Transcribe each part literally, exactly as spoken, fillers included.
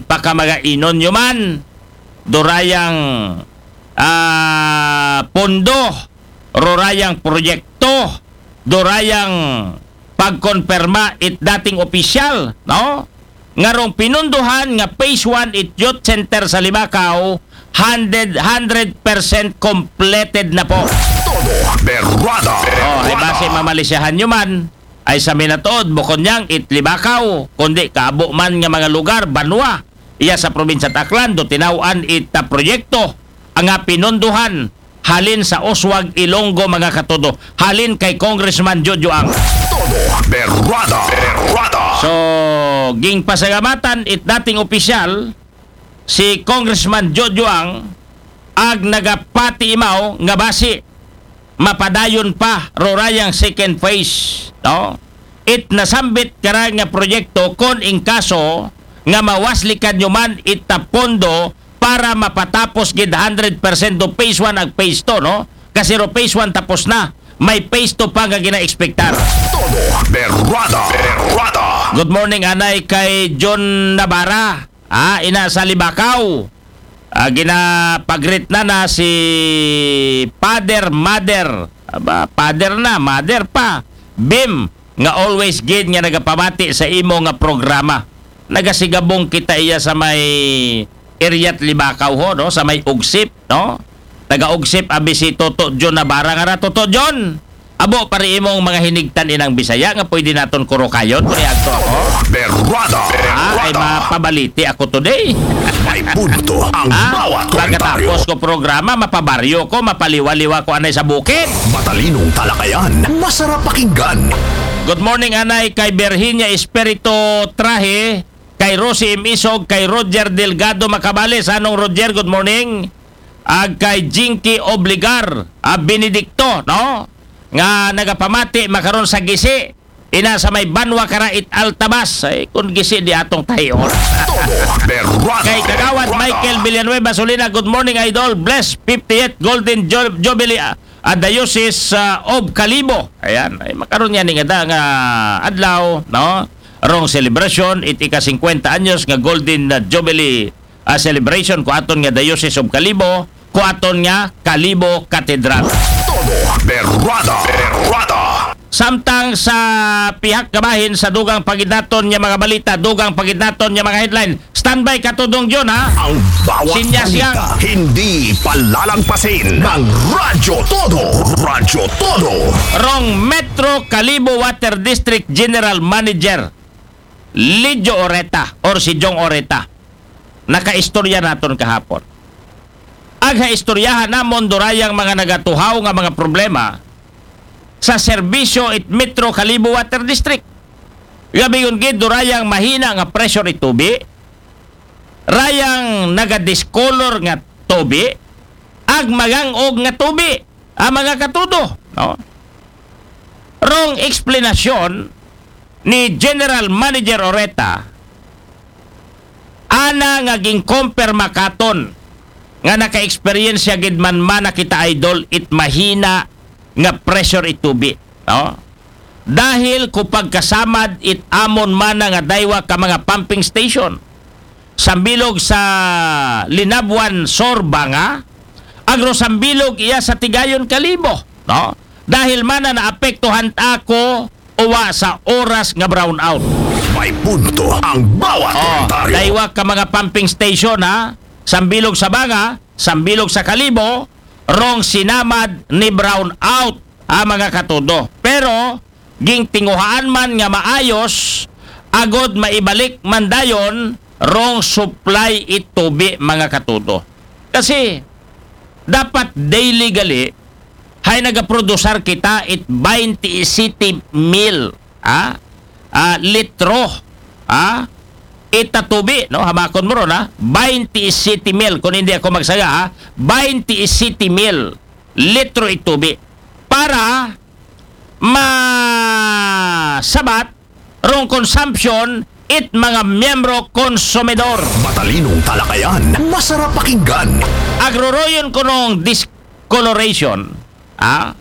pakamaga inon nyo man, durayang, ah, pondo, rurayang proyekto, durayang pagkonperma it dating opisyal, no? Nga rong pinunduhan nga phase one it youth center sa Libakaw, hundred, hundred percent completed na po. Todo berrada. Oh, ay base mamalisyahan nyo man, ay sa minatuod, bukon niyang it Libakaw, kundi kaabo man nga mga lugar, banwa, iya sa probinsya Aklan, do tinaw-an ita proyekto, nga pinunduhan, halin sa Oswag Ilonggo, mga katudo, halin kay Congressman Jojo Ang. Todo berrada. Berrada. So, ging pasalamatan it dating opisyal, si Congressman Jojo Ang, ag nagapati imaw nga basi mapadayon pa rurayang second phase, no? It nasambit kara nga proyekto kon in kaso nga mawaslikan nyo man ita pondo para mapatapos gid hundred percent do phase one ag phase two, no? Kasi ro phase one tapos na, may phase two pa nga gina-expectar. Todo berrada. Berrada. Good morning, anay kay John Navarra. Ah, ina sa Libakaw. Ah, ginapagrit na na si Father, Mother. Aba, Father na, Mother pa. Bim, nga always gid nga nagapamati sa imo nga programa. Nagasigabong kita iya sa may area Libakaw ho, no? Sa may Ugsip, no? Taga Ugsip, abi si Toto John Navarra nga ra, Toto John. Abo, pari imong mga hinigtan inang Bisaya nga pwede naton kurukayon kung iagto ako. Berrada. Ah, ay Berrada. Mapabaliti ako today. May punto ang Ah, bawat komentaryo. Pagkatapos ko programa, mapabaryo ko, mapaliwa-liwa ko anay sa bukid. Matalinong talakayan, masarap pakinggan. Good morning, anay kay Virginia Espirito Trahe, kay Rosie M. Isog, kay Roger Delgado Macabales. Anong Roger, good morning. Ag kay Jinky Obligar, ah, Benedicto, no? Nga nagapamati makaron sa gisi. Ina sa may banwa kara it Altabas. Ay, kung gisi di atong tahion. Todo berrada. Kay Kagawad Berrada. Michael Villanueva Solina, good morning, Idol. Bless fiftieth Golden Ju- Jubilee, ah, ah, Diocese, ah, of Kalibo. Ayan, ay makaron yan nga da nga adlaw, no? Rong celebration, it ika singkwenta anyos nga Golden, ah, Jubilee, ah, celebration ko aton nga Diocese of Kalibo, ko aton nga Kalibo Cathedral. Todo berrada. Berrada. Samtang sa pihak kabahin sa dugang pagidnaton nga mga balita, dugang pagidnaton nga mga headline. Standby ka, Tudong John, ha? Ang bawat Sinyas balita, yang. Hindi palalangpasin ng Radyo Todo. Radyo Todo. Rong Metro Kalibo Water District General Manager, Lidjo Oreta or si Jong Oreta. Nakaistorya naton kahapon. Agha istoryahan namon durayang mga nagatuhaw nga mga problema sa serbisyo it Metro Kalibo Water District. Gabingon gid durayang mahina nga pressure it tubi, rayang nagadiscolor nga tubi, ag magang-og nga tubi, ang mga katudo, no? Rong eksplanasyon ni General Manager Oreta, ana nga gin-compare makaton nga naka-experience gid man man na kita, Idol, it mahina nga pressure it tubi, no? Dahil ko pagkasamad it amon mana nga daywa ka mga pumping station, sambilog sa Linabuan Sur Banga, agro sambilog iya sa Tigayon Kalibo, no? Dahil mana naapektuhan ako uwa sa oras nga brownout. May punto ang bawat Oh, komentaryo. daywa ka mga pumping station, ha, sambilog sa Banga, sambilog sa Kalibo, rong sinamad ni brownout, ha, mga katudo. Pero gingtinguhaan man nga maayos, agod maibalik man dayon rong supply it tubi, mga katudo. Kasi dapat daily gali, hay nagaprodusar kita it baynte siyete mil, ha? Ah, litro, ha? Ita tubi, no? Hamakon mo ron, ha? Baynte siyete mil, kung hindi ako magsaga, ha? Baynte siyete mil litro it tubi para masabat rong consumption it mga miyembro konsumidor. Matalinong talakayan, masarap pakinggan. Agroroyon ko nung discoloration, ah?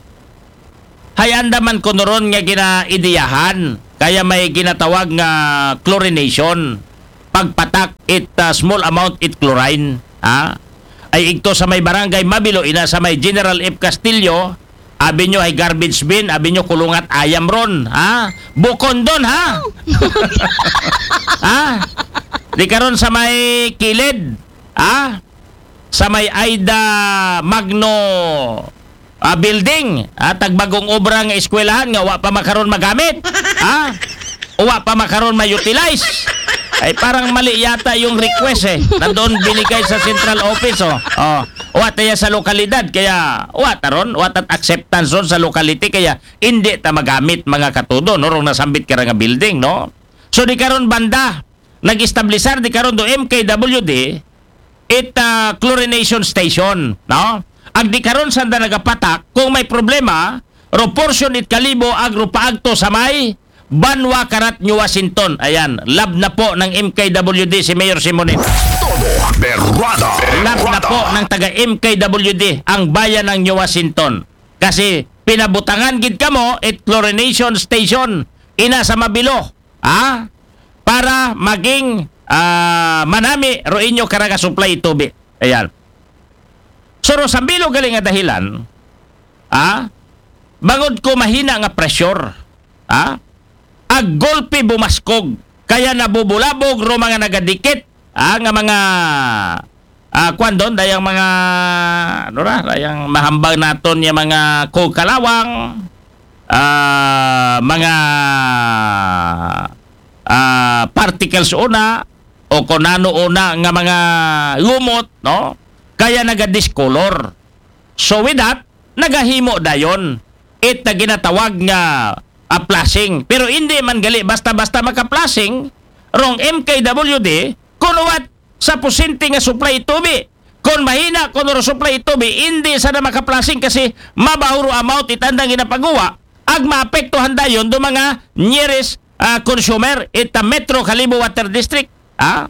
Hay andaman ko noron nga ginaidiyahan, kaya may ginatawag nga chlorination. pagpatak it, ah, small amount it chlorine, ha? Ay igto sa may barangay Mabilo, ina sa may General F Castillo Avenue, hay garbage bin, abi nyo kulungat ayam ron, ha? Bukondon, ha? Ha? Di karon sa may kilid, ha? Sa may Aida Magno, ah, building, ha? Tagbagong obra nga eskwelahan nga wa pa makaron magamit, ha? O wa pa makaron ma-utilize. Ay, parang mali yata yung request, eh. Nandoon binigay sa central office, oh. Oh, wa tayo sa lokalidad, kaya wa taron, wa tat acceptance ron sa locality, kaya hindi ta magamit, mga katudo, no, rong nasambit ka nga building, no? So, di karon banda, nag-establisar di karon do M K W D, it, ah, chlorination station, no? Ag di karon sanda nagapatak, kung may problema, ro portion it Kalibo ag ro paagto sa may Banwa karat New Washington. Ayan, lab na po ng M K W D si Mayor Simonet. Todo berrada. Lab na po ng taga M K W D ang bayan ng New Washington. Kasi pinabutangan gid kamo it chlorination station ina sa Mabilo, ha? Para maging, ah, manami ro inyo karaga supply tubi. Ayan. So, ro sa bilo gali nga dahilan, ha? Bangod ko mahina nga pressure, ha? Ag golpe bumaskog, kaya nabubulabog ro mga nagadikit, ha? Nga mga, ah, kwan doon, dayang mga, ano ra, dayang mahambang naton yung mga kukalawang, ah, mga, ah, particles una, o kung ano una nga mga lumot, no? Kaya nagadiscolor. So with that, nagahimo dayon it na ginatawag nga, ah, flushing. Pero hindi man gali basta-basta maka-flushing rong M K W D kung what sa pusinti nga supply tubi. Kung mahina kung ro supply tubi, hindi sa na maka-flushing kasi mabahuro amount itandang ginapaguwa ag maapektuhan dayon do mga nearest, ah, consumer ita Metro Kalibo Water District. Ah?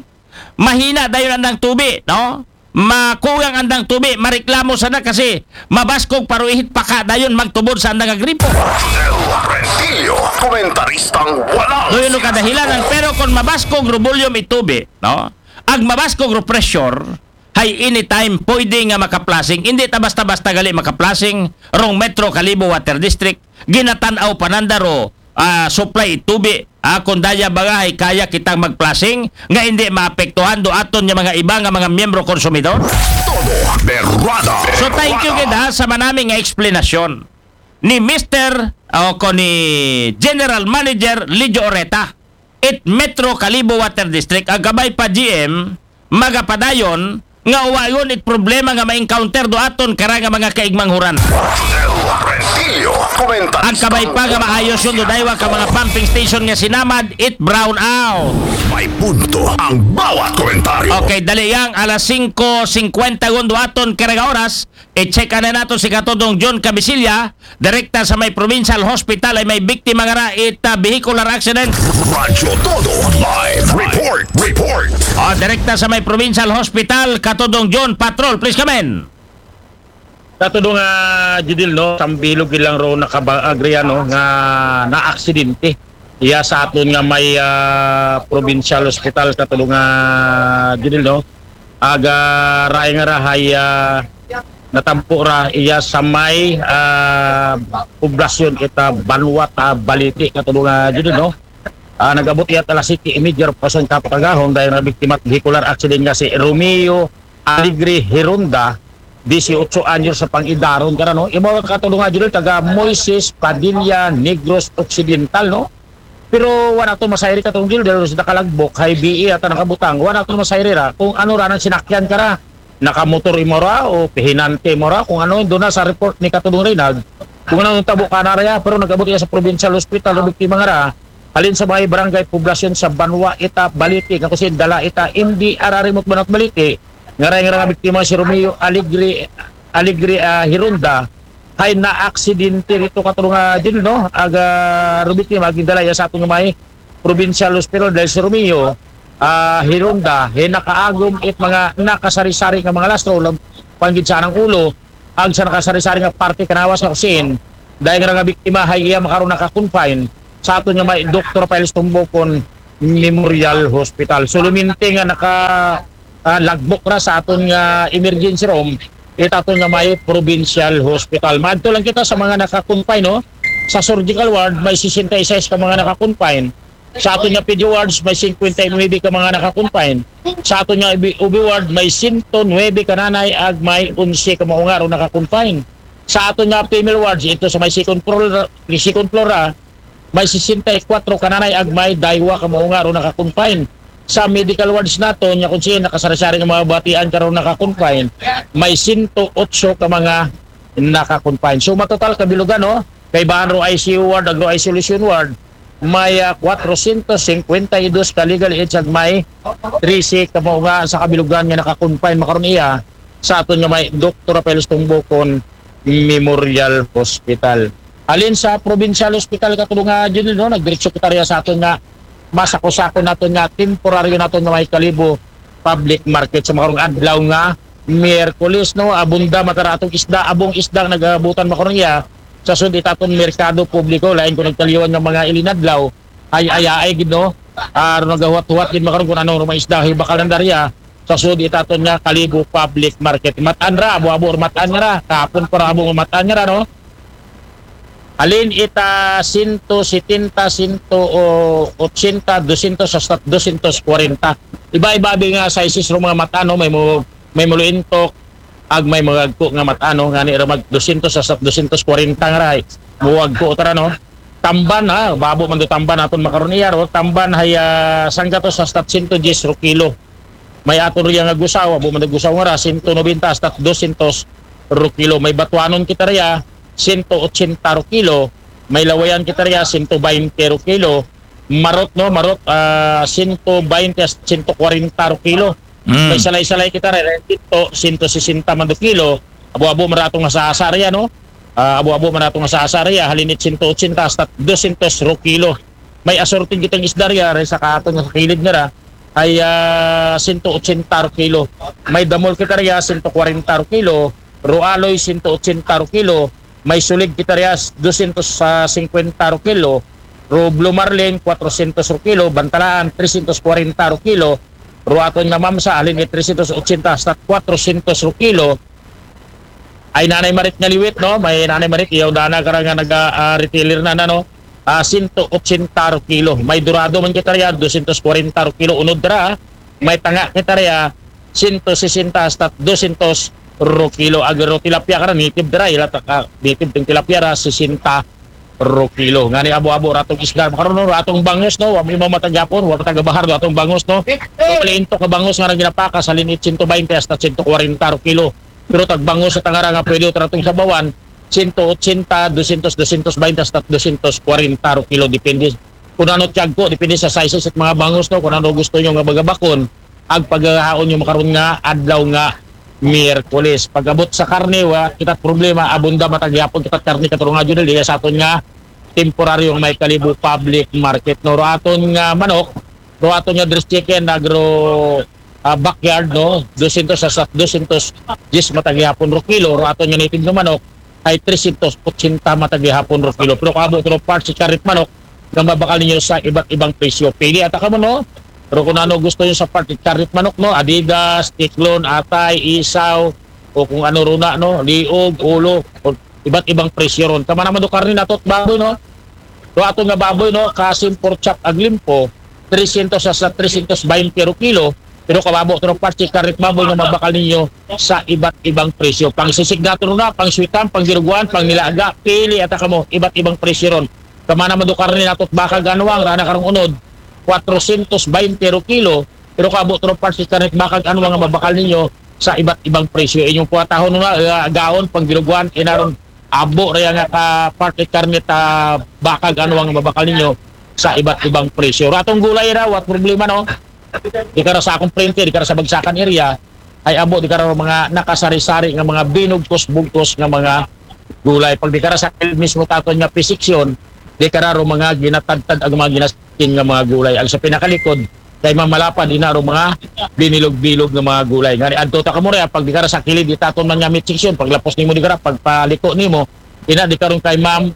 Mahina dayon andang tubi, no? Makugang andang tubi, mareklamo sana kasi mabaskog paruihit paka dayon magtubod sa andang agripo. Judel Rentillo, komentaristang walang Doon yung kadahilanan, pero kung mabaskog rubulyom itubi, no? Ag mabaskog ro pressure, hay anytime pwede nga makaplasing. Hindi ta basta-basta gali makaplasing rong Metro Kalibo Water District. Ginatan-aw pananda ro, ah, supply tubi. Ah, kung daya ba nga hay kaya kitang magplasing nga hindi maapektuhan do aton nga mga iba nga mga miyembro konsumidor? Todo berrada. So thank you gid ha sa manami nga eksplanasyon ni Mister o ko ni General Manager Lijo Oreta it Metro Kalibo Water District. Ang kabay pa G M, magapadayon nga uwayon it problema nga ma-encounter do aton kara nga mga kaigmanghuran. Judel Rentillo, komentaristang Ang kabay pa nga maayos yun do daywa ka mga pumping station nga sinamad it brown out. May punto ang bawat komentaryo. Okay, dali yang alas singko singkwenta gun do aton kara nga oras. I-check na nato si Katudong John Cabisilla, direkta sa may provincial hospital ay may biktima nga ra it, ah, vehicular accident. Radyo Todo Live Report. Report. Ah, direkta sa may provincial hospital, Katudong John Patrol, please come in. Katudong, ah, Judil, no, sambilog ilang ro nakabaagri, ano, nga naaksidente iya sa aton nga may, ah, provincial hospital, katudong, ah, Judil, no. Aga raay nga rahay, ah, natampo ra iya sa may, ah, poblasyon ita Banwat, ah, Baliti, katudong, ah, Judil, no. Ah, nag-abot iya alas siyete y media ro pasong kapagahon dahil na biktima vehicular accident nga si Romeo Alegre Hironda, disiotso anyos sa pang-idaron ka na, no? Imo ka tulong nga, Judel, taga Moises Padilla, Negros Occidental, no? Pero wala to masayri ka tong Judel, dahil sa nakalagbok, hay B E ata nakabutang, wala to masayri ra kung ano ra nang sinakyan ka ra. Nakamotor imo ra, o pihinante imo ra, kung ano, doon na sa report ni Katulong Reynald, kung ano ang tabo ka na ra, pero nag-abot iya sa provincial hospital, ang biktima nga ra, halin sa mga barangay poblasyon sa Banwa, Ita, Baliti, nga kusin dala ita, M D R R remote Banwa, Baliti, nga ray nga nga biktima si Romeo Alegre, Alegre, ah, Hironda, hay naaksidente rito katulong nga din, no? Aga rubiktima, gindala iya sa atong may provincial hospital dahil si Romeo, ah, Hironda, hay nakaagom it mga nakasari-sari nga mga lastro, lam-, panggid sa anang ulo, ag sa nakasari-sari nga parte kanawas nga kusin, dahil nga nga biktima, hay iya makaroon naka-confine sa aton nga may Doktor Piles Tumbokon, Memorial Hospital. So, luminti nga naka, ah, lagbok ra sa aton nga emergency room, it aton nga may provincial hospital. Maadto lang kita sa mga naka-confine, no? Sa surgical ward, may sesenta y seis ka mga naka-confine. Sa aton nga pedio wards, may singkwenta y nuwebe ka mga naka-confine. Sa aton nga O B, O B ward, may sento nuwebe ka nanay ag may onse ka maunga ro naka-confine. Sa aton nga female wards, ito sa may second floor, second floor, ah, may sesenta y kwatro ka nanay ag may daywa ka maunga ro naka-confine. Sa medical wards naton, nga kung sino nakasari-sari nga mga batian karon naka-confine, may sento otso ka mga naka-confine. So, matotal kabilugan, no? Kay bahan ro I C U ward, agro isolation ward, may, ah, kwatrosyentos singkwenta y dos ka legal age ag may trese ka maunga sa kabilugan nga naka-confine makaron iya sa aton nga may Doktor Rafael Tumbukon Memorial Hospital. Halin sa provincial hospital, katulong nga, Junel, no, nagdiretso kita riya sa aton nga masako-sako naton nga temporaryo naton nga may Kalibo public market sa makarong adlaw nga Miyerkules, no. Abunda man tara atong isda, abong isda ang nagabutan makaron iya. Sa sud it aton merkado publiko, lain ko nagkaliwan nga mga ilinadlaw, ay, ay, ay, gid, no. Aron nagahuwat-huwat gid makaron kung ano mga isda hibakal ng darya. Sa sud it aton nga Kalibo public market. Matan ra, abo-abo, matan ra. Kapon para abo matan ra, no. Halin ita sento setenta, sento ochenta, dosyentos hasta dosyentos kwarenta. Iba-iba abi nga sizes ro mga matan, no, may mo, may muluintok, ag may mga agko nga matan, no, ngani ra mag dosyentos hasta dosyentos kwarenta nga ray. Mo agko tara, no. Tamban, ha, babo man do tamban aton makaron iya ro, tamban hay, ah, sanggatos hasta sento dyes ro kilo. May aton riya nga gusaw, abo man do gusaw nga ra, sento nobenta hasta dosyentos ro kilo. May batuanon kita riya, sento ochenta ro kilo. May lawayan kita riya, sento baynte ro kilo. Marot, no, marot, ah, sento baynte hasta sento kwarenta ro kilo. Mm. May salay-salay kita riya, sento, sento sesenta man do kilo. Abo-abo man ra atong nga sasa riya, no? Ah, abo-abo man ra atong nga sasa riya, halin it sento ochenta hasta dosyentos ro kilo. May assorted kitang isda riya, ray sa katon nga sa kilid nga ra, ay, ah, sento ochenta ro kilo. May damol kita riya, sento kwarenta ro kilo. Ro aloy, sento ochenta ro kilo. May sulig kita riya, dosyentos singkwenta ro kilo. Ro blue marlin, kwatrosyentos ro kilo. Bantalaan, tresyentos kwarenta ro kilo. Ro aton nga mamsa, halin it tresyentos ochenta hasta kwatrosyentos ro kilo. Ay nanay marit nga liwit, no? May nanay marit, iya dana kara nga naga, ah, retailer na, na, no? Ah, sento ochenta ro kilo. May dorado man kita riya, dosyentos kwarenta ro kilo. Unod ra, may tanga kita riya, sento sesenta hasta dosyentos ro kilo. Agro tilapia kara, native dira, ila ta ka, native tong tilapia ra, sesenta ro kilo. Ngani abo-abo ra atong isda. Makaron, no, ra atong bangus, no? Wa mi mamata gyapon, wa ta gabahar ra atong bangus, no? So, maliintok ka bangus nga ra ginapakas, halin it sento baynte hasta sento kwarenta ro kilo. Pero tagbangus sa tangara nga pwede ta ra tong sabawan, sento ochenta, dosyentos, dosyentos baynte hasta dosyentos kwarenta ro kilo, depende. Kung ano tiyagko, depende sa sizes it mga bangus, no? Kung ano gusto nyo nga bagabakon, ag paghahaon nyo makaron nga adlaw nga Miyerkules. Pag-abot sa karne, wa kita problema, abunda man ta gyapon kita karne, katulong nga, Junel, iya sa aton nga temporaryong may Kalibo public market, no? Ro aton nga manok, ro aton nga dressed chicken, agro, ah, backyard, no? Dosyentos hasta dosyentos dyes man ta gyapon ro kilo. Ro aton nga native nga manok, ay tresyentos ochenta man ta gyapon ro kilo. Pero kung abo to ro parts it karne it manok, nga mabakal ninyo sa iba't ibang presyo. Pili ata kamo, no? Pero kung ano gusto nyo sa parts it karne it manok, no? Adidas, Tiklon, Atay, Isaw, o kung ano ro na, no? Liog, ulo, o iba't ibang presyo ron. Kama naman do karne nato it baboy, no? Do ato nga baboy, no? Kasim, pork chop, ag limpo, tresyentos hasta tresyentos baynte ro kilo. Pero kung abo to ro parts it karne it baboy nga mabakal ninyo sa iba't ibang presyo. Pang sisignato na, pang sweetan, pang giruguan, pang nilaga, pili ata kamo, iba't ibang presyo ron. Kama naman do karne nato it baka ag anwang, ra na karong unod, kwatrosyentos baynte ro kilo. Pero kung abo to ro parts it karne it baka ag anwang nga mabakal ninyo sa iba't ibang presyo. Inyong puhatahon na, ah, gaon, pang giruguan, inaron, abo ra iya nga ka parts it karne it, ah, baka ag anwang nga mabakal ninyo sa iba't ibang presyo. Ro atong gulay ra, wa problema, no? Di kara sa akong printer, di kara sa Bagsakan area, ay abo, di kara mga nakasari-sari nga mga binugkos-bugkos nga mga gulay. Pag di kara sa kilid mismo it aton nga P section, di kara ro mga ginatadtad ag mga ginaskin nga mga gulay. Ag sa pinakalikod, kay mamalapad, ina ro mga binilog-bilog nga mga gulay. Ngani adto ta kamo ria, pag di kara sa kilid it aton man nga meat section, paglapos nimo di kara, pagpaliko nimo, ina di karon kay Ma'am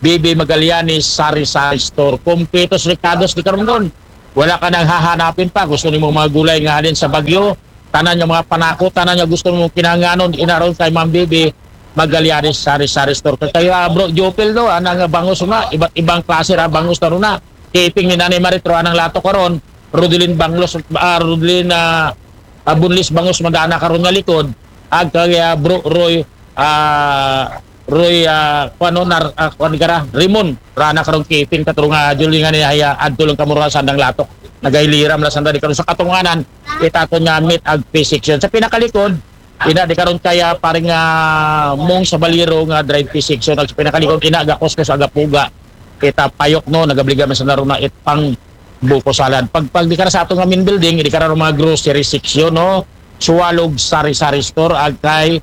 Bibi Magallanes Sari Sari Store. Kompletos rekados di karon ron. Wala ka nang hahanapin pa. Gusto nimo mga gulay nga halin sa Baguio, tanan nga mga panako, tanan nga gusto mo kinahanglanon, ina ron kay Ma'am Bibi, Magallanes Sari Sari Store. Kay, ah, Bro Jopel, no, anang bangus nga, iba't ibang klase ra bangus na ron na. Kay iping ni Nanay Marit, ro anang latok karon, Rodelin Banglos, ah, Rodelin, ah, ah, Bunlis bangus man daan na karon nga likod, ag kay, ah, Bro Roy, ah, Roy, ah, kuan, no, nar-, ah, kuan, gara, Rimon, ro ana karon kay iping, katulong nga Julie, nga ni haya, adto lang kamo ro sandang latok. Nagahilira man la sanda di karon sa katunganan, it aton nga meat ag fish section. Sa pinakalikod, ina di karon kay, ah, paring, ah, Mong Sabalero nga dried fish section. Ag sa pinakalikod, ina, gakuskus, agapuga. It, ah, payok, no, nagabliga man sanda ro na it pang buko salad. Pag, pag di kara sa aton nga main building, di kara ro mga grocery section, no? Suwalog Sari-Sari Store, ag kay,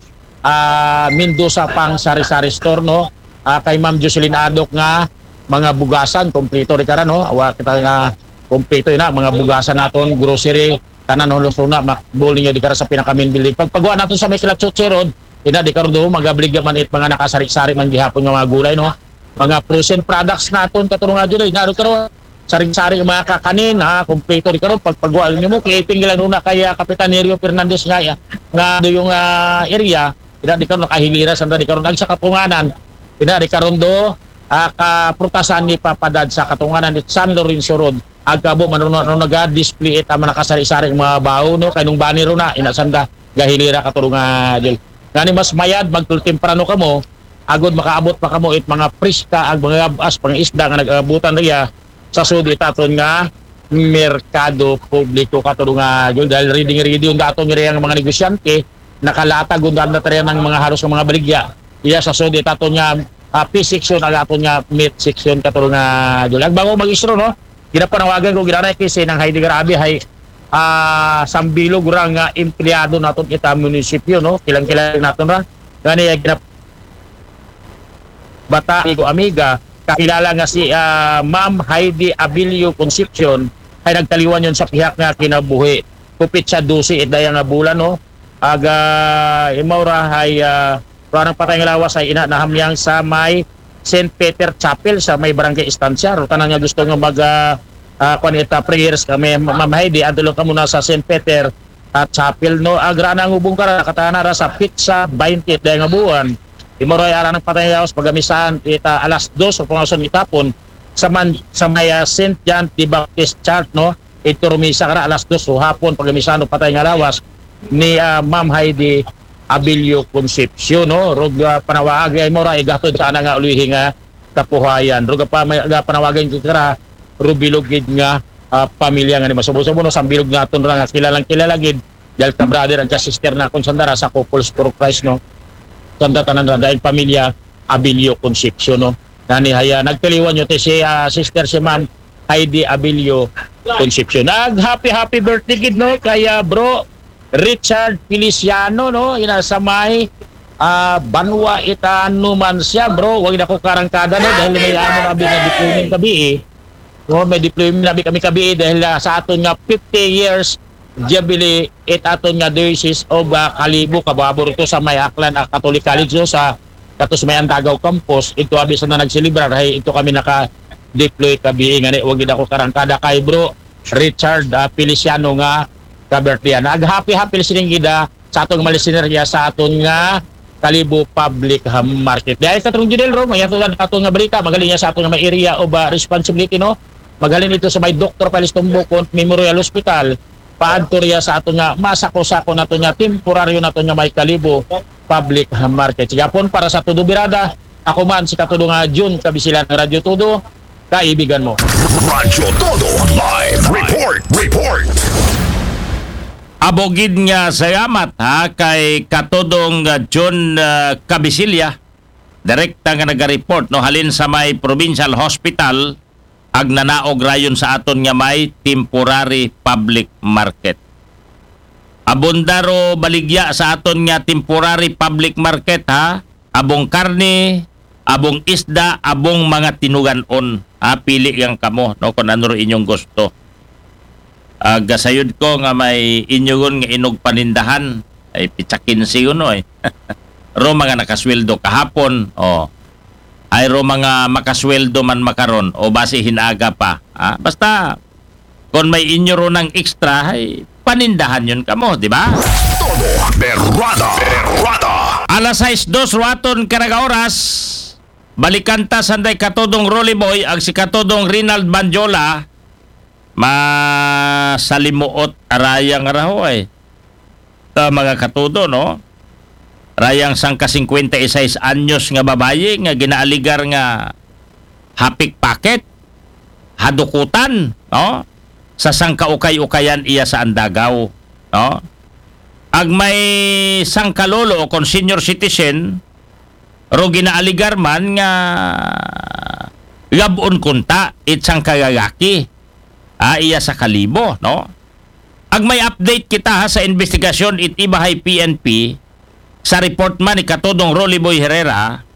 ah, Mendoza pang Sari-Sari Store, no? Ah, kay Ma'am Jocelyn Adok nga mga bugasan, kompleto di kara, no? Awa kita nga kompleto ina, mga bugasan naton, grocery, tanan, no? So na, makbul ninyo di kara sa pinaka main building. Pag pagwa naton sa may Kilatsuchi Road, ina di karon do, magabliga man it mga nakasari-sari man gihapon nga mga gulay, no? Mga frozen products naton, katulong nga dyan, eh. Nga, karon, sari-sari nga mga kakanin, ha, kompleto di karon, pagpagwa nimo, kay iping lang ro na kay, ah, Kapitan Nerio Fernandez nga, nga do yung, ah, area, ina di karon nakahilira sanda di karon, ag sa katunganan, ina di karon do, ah, kaprutasan ni Papa Dad sa katunganan ni San Lorenzo Road, ag kabo man ro na, ro naga-display it, ah, mga nakasari-sari nga mga bawo, no, kay nung bani ro na, ina sanda gahilira, katulong nga, Jel. Ngani mas mayad, magtemprano kamo, agod makaabot pa kamo it mga preska, ag mga gab-as, pangisda nga nag-abutan riya sa sud it aton nga merkado publiko, katulong nga, Jel, dahil ready-ready yung daton riya nga mga negosyante, nakalatag yung daan na tayo ng mga halos ng mga baligya. Iya sa sud it aton nga, ah, fish section, ag aton nga meat section, katulong nga, Jel. Ag bago mag-istro, no? Ginapanawagan ko, ginanay kay si Nang Heidi Garabi, hay, ah, sambilog ra nga empleyado naton kita munisipyo, no? Kilang-kilang naton ra. Ngani, ah, ginap-, bata, amigo, amiga, kakilala nga si, ah, Ma'am Heidi Abilio Concepcion, ay nagtaliwan yon sa pihak nga kinabuhi. Kupit sa dose, it daya nga bulan, no? Aga, imaw ra hay, ah, ro anang patay nga lawas ay ina nahamyang sa may Saint Peter Chapel sa may Barangay Estancia. Ro tanan nga gusto nga mag, ah, ah, kuan ita prayers kami, Ma'am Heidi, adto lang kamo na sa Saint Peter, ah, Chapel, no? Ag ra anang ubong kara, katana ra sa Pizza twenty, daya nga buwan. Imaw ra ay ara anang patay nga lawas, pagamisahan ita alas dos o pangason itapon sa man, sa may, ah, Saint John the Baptist Church, no? Ito rumisa kara alas dos o hapon, pagamisahan o patay nga lawas ni, ah, Ma'am Heidi Abilio Concepcion, no? Rog, ah, panawaag ay mo ra, igatod sa ana nga ulihi nga kapuhayan. Rog pa may, ah, panawagan ko kara, rubilog gid nga, ah, pamilya nga ni masubo-subo, no? Sambilog naton ra nga kilalang kilala gid, dahil ka brother ang ka sister na kung sandara sa Couples for Christ, no? Sanda tanan ra, dahil pamilya Abilio Concepcion, no? Nani haya, nagtaliwan nyo, ti si, ah, sister si Ma'am Heidi Abilio Concepcion. Nag happy, happy birthday gid, no? Kaya, bro, Richard Feliciano, no? Ina sa may, ah, banwa itano man siya, bro. Wag na ko karangkada, no? Dahil may amo na abi nga deployment kabi, eh. No, may deployment na abi kami kabi, eh, dahil, ah, sa aton nga fifty years jubilee, it aton nga Diocese of, ah, Kalibo, kababor ito sa may Aklan, ah, Catholic College, no? Sa katos may Andagaw Campus, ito abi sa na nagselebrar, hay ito kami naka-deploy kabi, eh, ngani, wag gid ako karangkada kay, bro, Richard, ah, Feliciano nga ka-birthday. Nag happy, happy listening gid, ah, sa aton nga listener niya sa aton nga Kalibo Public, ah, Market. Dahil sa Trung Judel Ro, may ato lang aton nga balita, magaling niya sa aton nga may area of, ah, responsibility, no? Magaling ito sa may Doktor Palistombo Memorial Hospital, paadto riya sa aton nga masako-sako naton nga temporaryo naton nga may Kalibo Public, ah, Market. Sige, hapon para sa Todo Birada, ako man si Katudo nga Jun Kabisilan ng Radyo Todo, kaibigan mo. Radyo Todo Live Report. Report. Abogid nga salamat, ha, kay Katudong, ah, John, ah, Kabisilya, direkta nga naga-report, no, halin sa may Provincial Hospital, ag nanaog rayon sa aton nga may temporary public market. Abundaro baligya sa aton nga temporary public market, ha. Abong karne, abong isda, abong mga tinuganon. Ha, pili yang kamo, no, kung ano ro inyong gusto. Ah, gasayod ko nga may inyugon nga inog panindahan. Ay, pitsa kinse yun, oy. Ro mga nakasweldo kahapon, oh. Ay, ro mga makasweldo man makaron, o basi hinaga pa. Ah, basta, Kung may inyo ron ng extra, ay panindahan yun kamo, di ba? Todo Berrada. Berrada. Alas sais dos ruaton karag oras, balikan ta sanday katodong Rolly Boy, ag si katodong Rinald Bandyola, masalimuot arayang raho ay. Ta mga katodo, no? Rayang sangka singkwenta y sais anyos nga babayi nga ginaaligar nga hapik paket, hadukutan, no? Sa sangka ukay-ukayan iya sa andagaw, no? Ag may sangka lolo o kon senior citizen, ro ginaaligar man nga gabon kunta it sangka lalaki, ah, iya sa kalibo, no? Ag may update kita ha, sa investigasyon it ibahay P N P, sa report man ni katodong Rolly Boy Herrera,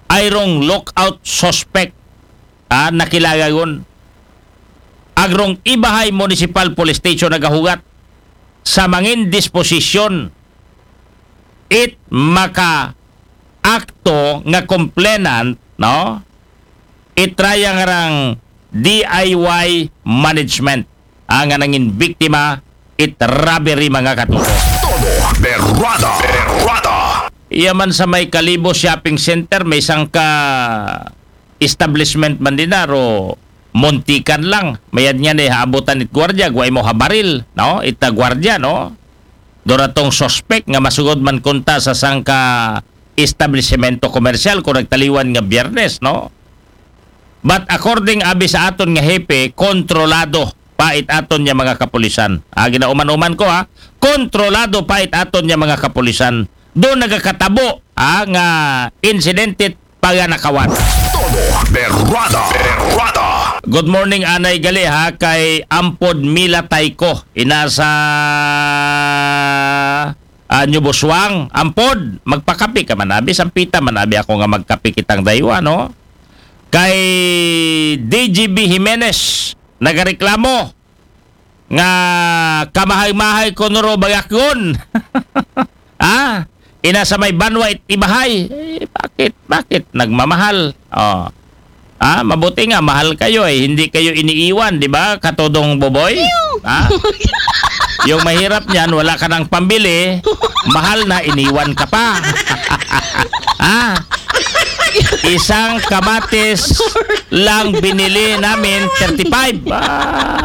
ay rong lookout suspect, ah, nakilagagon. Ag rong ibahay Municipal Police Station nagahugat sa mangin disposisyon it maka akto nga complainant, no? Itraya nga rang D I Y management, ah, nga nangin biktima it robbery, mga katuto. Todo Berrada. Berrada. Iya man sa may Kalibo Shopping Center, may sangka establishment man din na, ro muntikan lang. Mayad nga ni haabutan it gwardiya, guay mo habaril, no? Ita gwardiya, no? Doratong suspect nga masugod man kunta sa sangka establisemento komersyal kung nagtaliwan nga Biyernes, no? But according abi sa aton nga hepe, kontrolado pa it aton nga mga kapulisan. Ah, ginauman-uman ko, ha, kontrolado pa it aton nga mga kapulisan. Doon nagakatabo, ah, nga insidente paganakawan. Todo Berrada. Berrada. Good morning, anay gali, ha, kay Ampod Mila Tayko. Ina sa, ah, New Busuang. Ampod, magpakapi ka man abi, sampita man abi ako nga magkapi kitang daywa, no? Kay D G B Jimenez, nagareklamo nga kamahay-mahay ko nuro bagakon. Ah, ina sa may banwa it ibahay. Eh, bakit? Bakit nagmamahal? Oh. Ah, mabuti nga mahal kayo eh, hindi kayo iniiwan, di ba? Katodong Boboy? Ah? Yung mahirap niyan, wala ka ng pambili, mahal na, iniwan ka pa. Ah? Isang kamatis lang binili namin, thirty-five.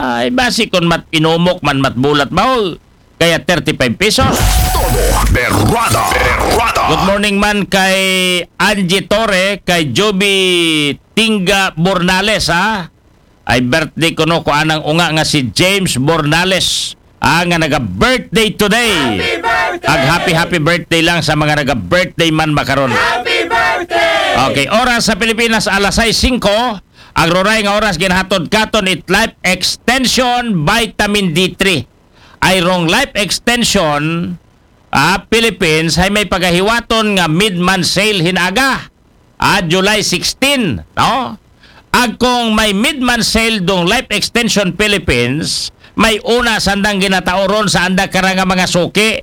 Ay, basi kung mat inumok man, matbulat ba, oh? Kaya thirty-five pesos. Todo Berrada. Berrada. Good morning man kay Angie Torre, kay Joby Tinga Bornales, ha? Ay birthday ko, no, ko anang unga nga si James Bornales, ah, nga naga-birthday today. Happy birthday! Ag happy, happy birthday lang sa mga naga-birthday man makaron. Happy birthday! Okay, oras sa Pilipinas, alas sais singko. Ag ruray nga oras ginahatod katon it Life Extension Vitamin D three. Ay rong Life Extension, ah, Philippines, ay may pagahiwaton nga mid-month sale hinaga, ah, July sixteen, no? Ag kung may mid-month sale dong Life Extension Philippines, may una sandang ginataoron sa anda kara nga mga suki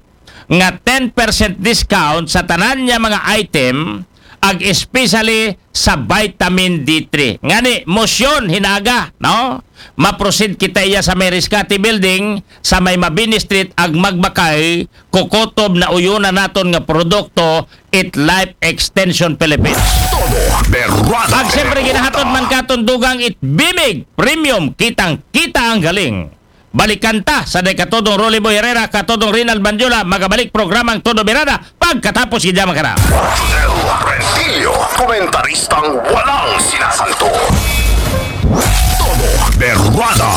nga ten percent discount sa tanan niya mga item, ag especially sa vitamin D three. Ngani, motion hinaga, no? Maproceed kita iya sa may Rescate Building, sa may Mabini Street, ag magbakay, kukutob na uyunan naton nga produkto, it Life Extension Philippines. Todo Berrada. Ag siyempre, ginahatod man katon dugang it Bimig Premium, kitang-kita ang galing. Balikan ta sa day katodong Rolly Boy Herrera, katodong Rinald Bandyola, magabalik programang Todo Birada pagkatapos gid yaman kana. Rodel Rentillo, komentaristang walang sinasanto. Todo Berrada.